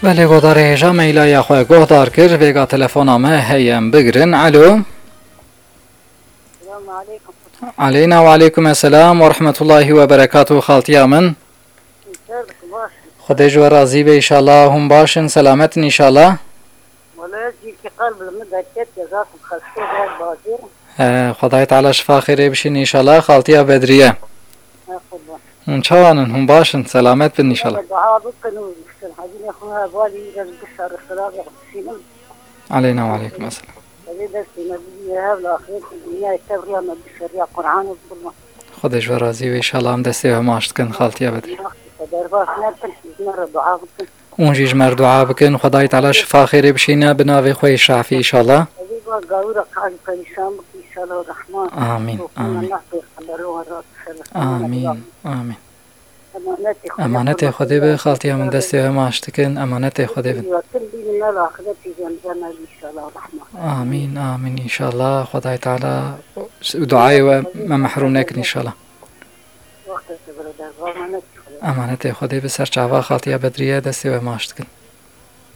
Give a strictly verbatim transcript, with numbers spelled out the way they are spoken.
Belê, godarê hêja me îlaya xwe guhdar kir, vêga telefona me heye em bigirin. Alo. Selamun aleykum. Aleyna ve aleykum esselam ve rahmetullahi ve berekatuhu, xaltiya min. Ser dikim, baş. Xwedê ji we razî be, înşallah. Hûn baş in, selamet in, înşallah. Wala ez jî ki qelb li min derket, cezak û xesto ber bazir. He, Xwedayê Teala şifa xêrê bişîn, înşallah, xaltiya Bedriye. He, qurban. Hûn çawan in? Hûn baş in? Selamet bin, înşallah. Dua bikin û Hecî xwe hevalî ez bi şer xilas bişînim. Aleyna ve aleykum esselam. Xwedê destê me bidî hev li axirêt û dinyayê tev riya me bişeriya Qur'an û qurban. Xwedê ji we razî be, înşallah, em destê we maç dikin, xaltiya Bedriye. Derbas nekin, ji me re dua bikin. Hûn jî ji me re dua bikin, Xwedayê Teala şifa xêrê bişîne, bi navê xwe yê Şafî, înşallah. Xwedê ba gawira qal perîşan bikin, înşallah Rahman. Amîn, Rohana amîn. Neh pêxember û rast. Amîn, amîn. Emanetê Xwedê be, xaltiya min, destê we maç dikin, emanetê Xwedê bin. Amîn, amîn, înşallah. Xwedayê Teala duayê we me mehrûm nekin, înşallah. Emanetê Xwedê be, ser çava, xaltiya Bedriye, destê we maç dikin.